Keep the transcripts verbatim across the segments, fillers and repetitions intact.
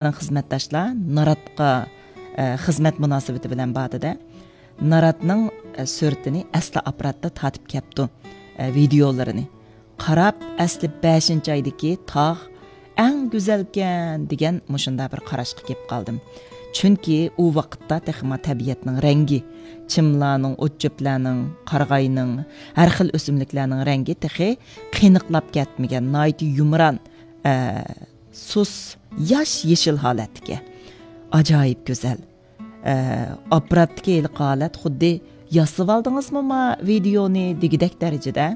خىزمەتداشلار ناراتقا، ئە، خىزمەت مۇناسىۋىتى بىلەن باردى-دە، ناراتنىڭ، ئە، سۈرىتىنى ئەسلى ئاپپاراتتا تارتىپ كەپتۇ، ئە، ۋىدېئولىرىنى. قاراپ، ئەسلى بەشىنچى ئايدىكى تاغ ئەڭ گۈزەلكەن دېگەن مۇشۇنداق بىر قاراشقا كېلىپ قالدىم. چۈنكى ئۇ ۋاقىتتا تېخىمۇ تەبىئەتنىڭ رەڭگى، چىملارنىڭ، ئوت-چۆپلەرنىڭ، قارىغاينىڭ، ھەر خىل ئۆسۈملۈكلەرنىڭ رەڭگى تېخى قېنىقلاپ كەتمىگەن، ناھايىتى يۇمران، ئە، سۇس، ياش يېشىل ھالەتتىكى. ئاجايىپ گۈزەل. ئە، ئاپپاراتتىكى ھېلىقى ھالەت خۇددى «ياسىۋالدىڭىزمۇ ما ۋىدېئونى؟» دېگۈدەك دەرىجىدە،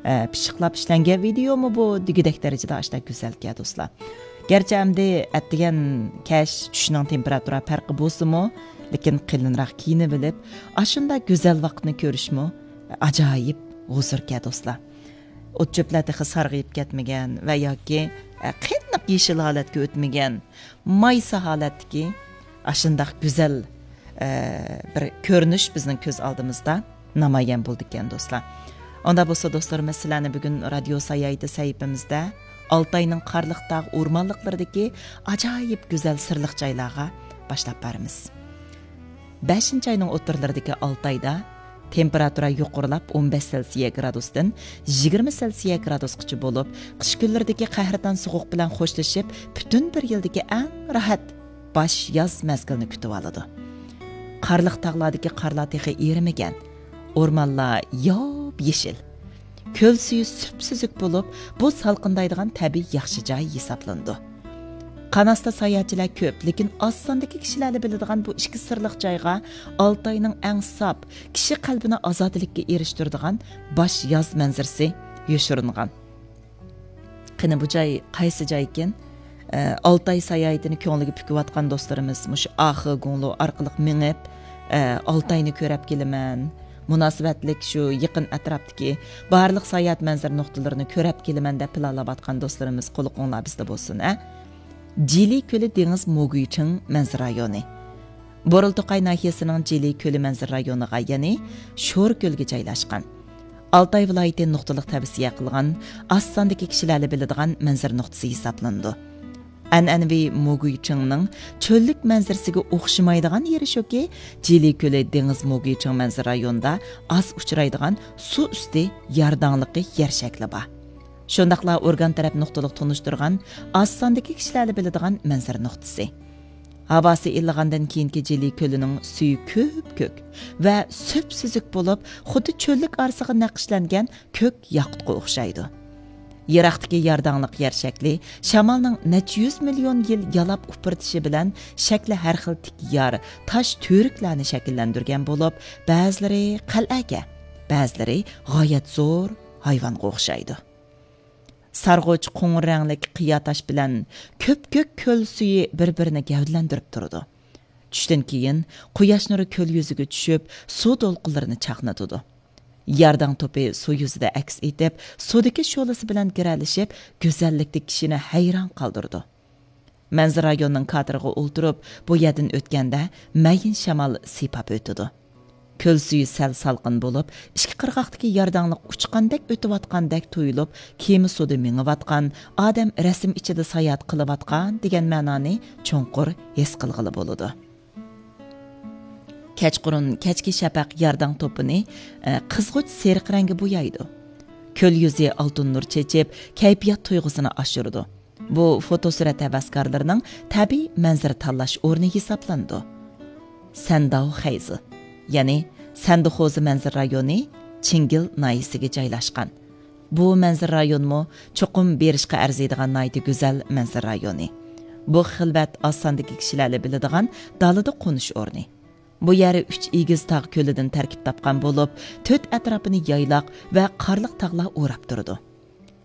ئە، «پىششىقلاپ ئىشلەنگەن ۋىدېئومۇ بۇ؟» دېگۈدەك دەرىجىدە ئاشۇنداق گۈزەلكەن، دوستلار. گەرچە ئەمدى ئەتىگەن كەچ چۈشنىڭ تېمپېراتۇرا پەرقى بولسىمۇ، لېكىن قېلىنراق كىيىنىۋېلىپ، ئاشۇنداق گۈزەل ۋاقىتنى كۆرۈشمۇ ئاجايىپ ھۇزۇركەن، دوستلار. ئوت-چۆپلەر تېخى سارغىيىپ كەتمىگەن ۋە ياكى، ئە، قېنىق يېشىل ھالەتكە ئۆتمىگەن، مايسا ھالەتتىكى ئاشۇنداق گۈزەل، ئە، بىر كۆرۈنۈش بىزنىڭ كۆز ئالدىمىزدا نامايان بولىدىكەن، دوستلار. ئۇنداق بولسا، دوستلىرىمىز، سىلەرنى بۈگۈن رادىيو ساياھىتى سەھىپىمىزدە ئالتاينىڭ قارلىق تاغ ئورمانلىقلىرىدىكى ئاجايىپ گۈزەل سىرلىق جايلارغا باشلاپ بارىمىز. بەشىنچى ئاينىڭ ئوتتۇرىلىرىدىكى ئالتايدا تېمپېراتۇرا يۇقىرىلاپ، ئون بەش سېلسىيە گرادۇستىن يىگىرمە سېلسىيە گرادۇسقىچە بولۇپ، قىش كۈنلىرىدىكى قەھرىتان سوغۇق بىلەن خوشلىشىپ، پۈتۈن بىر يىلدىكى ئەڭ راھەت باش ياز مەزگىلىنى كۈتۈۋالىدۇ. قارلىق تاغلاردىكى قارلار تېخى ئېرىمىگەن، ئورمانلار ياپيېشىل. كۆل سۈيى سۈپسۈزۈك بولۇپ، بۇ سالقىندايدىغان تەبىئىي ياخشى جاي ھېسابلىنىدۇ. قاناستا ساياھەتچىلەر كۆپ، لېكىن ئاز ساندىكى كىشىلەرلا بىلىدىغان بۇ ئىككى سىرلىق جايغا ئالتاينىڭ ئەڭ ساپ، كىشى قەلبىنى ئازادىلىككە ئېرىشتۈرىدىغان باش ياز مەنزىرىسى يوشۇرۇنغان. قېنى، بۇ جاي قايسى جايكىن؟ ئە، ئالتاي ساياھىتىنى كۆڭلىگە پۈكۈۋاتقان دوستلىرىمىز مۇشۇ ئاخې گۇڭلۇ ئارقىلىق مېڭىپ، ئە، ئالتاينى كۆرەپ كېلىمەن، مۇناسىۋەتلىك شۇ يېقىن ئەتراپتىكى بارلىق ساياھەت مەنزىرە نۇقتىلىرىنى كۆرەپ كېلىمەن دەپ پىلانلاۋاتقان دوستلىرىمىز قۇلىقىڭلار بىزدە بولسۇن، ئە! جىلى كۆلى دېڭىز موگۇيچىڭ مەنزىرە رايونى. بورىلتوقاي ناھىيەسىنىڭ جىلى كۆلى مەنزىرە رايونىغا، يەنى شوركۆلگە جايلاشقان. ئالتاي ۋىلايىتى نۇقتىلىق تەۋسىيە قىلغان، ئاز ساندىكى كىشىلەرلا بىلىدىغان مەنزىرە نۇقتىسى ھېسابلىنىدۇ. ئەنئەنىۋى موگۇيچىڭنىڭ چۆللۈك مەنزىرىسىگە ئوخشىمايدىغان يېرى شۇكى، جىلى كۆلى دېڭىز موگۇيچىڭ مەنزىرە رايونىدا ئاز ئۇچرايدىغان سۇ ئۈستى يارداڭلىقى يەر شەكلى بار. شۇنداقلا ئورگان تەرەپ نۇقتىلىق تونۇشتۇرغان ئاز ساندىكى كىشىلەرلا بىلىدىغان مەنزىرە نۇقتىسى. ھاۋاسى ئىللىغاندىن كېيىنكى جىلى كۆلىنىڭ سۈيى كۆپكۆك ۋە سۈپسۈزۈك بولۇپ، خۇددى چۆللۈك ئارىسىغا نەقىشلەنگەن كۆك ياقۇتقا ئوخشايدۇ. يىراقتىكى يارداڭلىق يەر شەكلى شامالنىڭ نەچچە يۈز مىليون يىل يالاپ ئۇپرىتىشى بىلەن شەكلى ھەر خىل تىك يار، تاش تۈۋرۈكلەرنى شەكىللەندۈرگەن بولۇپ، بەزىلىرى قەلئەگە، بەزىلىرى غايەت زور ھايۋانغا ئوخشايدۇ. سارغۇچ قوڭۇر رەڭلىك قىيا تاش بىلەن كۆپكۆك كۆل سۈيى بىر-بىرىنى گەۋدىلەندۈرۈپ تۇرىدۇ. چۈشتىن كېيىن قۇياش نۇرى كۆل يۈزىگە چۈشۈپ، سۇ دولقۇنلىرىنى چاقنىتىدۇ. يارداڭ توپى سۇ يۈزىدە ئەكس ئېتىپ، سۇدىكى شولىسى بىلەن گىرەلىشىپ، گۈزەللىكتە كىشىنى ھەيران قالدۇرىدۇ. مەنزىرە رايونىنىڭ كاتېرىغا ئولتۇرۇپ، بۇ يەردىن ئۆتكەندە، مەيىن شامال سىيپاپ ئۆتىدۇ. كۆل سۈيى سەل سالقىن بولۇپ، ئىككى قىرغاقتىكى يارداڭلىق ئۇچقاندەك ئۆتۈۋاتقاندەك تۇيۇلۇپ، كېمە سۇدا مېڭىۋاتقان، ئادەم رەسىم ئىچىدە ساياھەت قىلىۋاتقان دېگەن مەنانى چوڭقۇر ھېس قىلغىلى بولىدۇ. كەچقۇرۇن كەچكى شەپەق يارداڭ توپىنى، ئە، قىزغۇچ سېرىق رەڭگە بويايدۇ. كۆل يۈزى ئالتۇن نۇر چېچىپ، كەيپىيات تۇيغۇسىنى ئاشۇرىدۇ. بۇ فوتوسۈرەت ھەۋەسكارلىرىنىڭ تەبىئىي مەنزىرە تاللاش ئورنى ھېسابلىنىدۇ. سەنداۋ خەيزى، يەنى سەندىخوزى مەنزىرە رايونى چىڭگىل ناھىيەسىگە جايلاشقان. بۇ مەنزىرە رايونمۇ چوقۇم بېرىشقا ئەرزىيدىغان ناھايىتى گۈزەل مەنزىرە رايونى. بۇ خىلۋەت ئاز ساندىكى كىشىلەرلا بىلىدىغان دالىدا قونۇش ئورنى. بۇ يەر ئۈچ ئېگىز تاغ كۆلىدىن تەركىب تاپقان بولۇپ، تۆت ئەتراپىنى يايلاق ۋە قارلىق تاغلار ئوراپ تۇرىدۇ.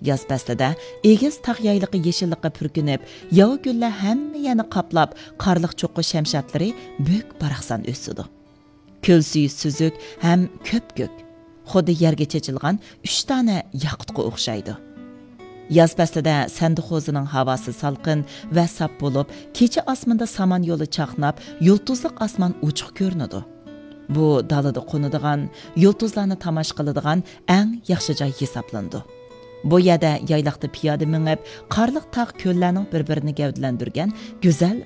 ياز پەسلىدە ئېگىز تاغ يايلىقى يېشىللىققا پۈركىنىپ، ياۋا گۈللەر ھەممە يەرنى قاپلاپ، قارلىق چوققا شەمشادلىرى بۈك-باراقسان ئۆسىدۇ. كۆل سۈيى سۈزۈك ھەم كۆپكۆك، خۇددى يەرگە چېچىلغان ئۈچ دانە ياقۇتقا ئوخشايدۇ. ياز پەسلىدە سەندىخوزىنىڭ ھاۋاسى سالقىن ۋە ساپ بولۇپ، كېچە ئاسمىنىدا سامان يولى چاقناپ، يۇلتۇزلۇق ئاسمان ئوچۇق كۆرۈنىدۇ. بۇ دالىدا قونىدىغان، يۇلتۇزلارنى تاماشا قىلىدىغان ئەڭ ياخشى جاي ھېسابلىنىدۇ. بۇ يەردە يايلاقتا پىيادە مېڭىپ، قارلىق تاغ كۆللەرنىڭ بىر-بىرىنى گەۋدىلەندۈرگەن گۈزەل